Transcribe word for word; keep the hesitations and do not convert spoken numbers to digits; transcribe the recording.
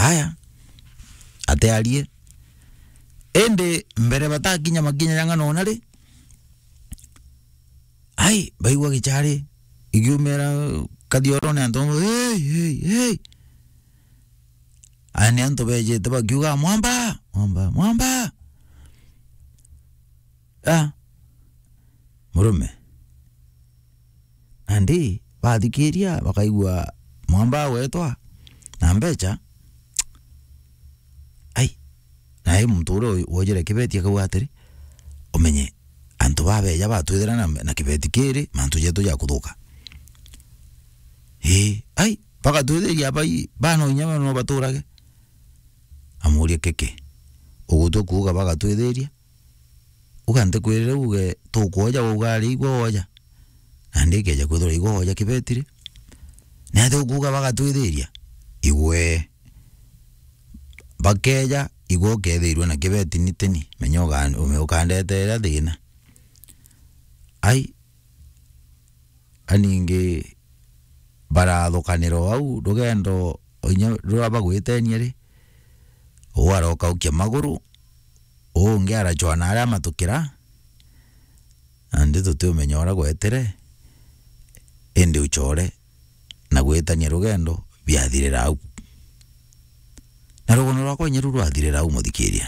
Aya, atiarie. Indi mbere batakinya makinya ja ng'ano ona ri, ai, baigua gichari igiumira kathiorone antu, "Hey, hey, hey." Aya ni antu bejite bakiuga, "Mwamba, mwamba, mwamba." Ah, murume. Nandi bathikiria, bakaigua mwamba agwetwa na mbecha. Ai, nae muntu uria wojire kibeti akauga atiri, "Umenye, antu babeja batwithira na, na kibeti kiri, mantu jetu jakuthuka." Ii, ai, bagatwithiria bai, bano inya no baturage. Amuria, "Kiki, ugutua kuuga bagatwithiria?" Uga ntikwirire uge tukwoja, wauga ari igwe woja. Nandi ikeja kwithirwa igwe woja kibeti ri, niatia ukuuga bagatwithiria? Igwe. Bakeja, igwe ukethirua na kibeti ni tini, menya uga-, ume-, ukandeteera thina. Ai, aningi barathukanira o au rugendo, inya ruria bagwitenia ri, uu arokaukia maguru, uu ungi aracwa na aria amatukira, nandi tutiumenya uria gwetire, indi ucore na gwitania rugendo biathirira au. Na rugendo rwakwa inya ru rwathirira au, muthikiria.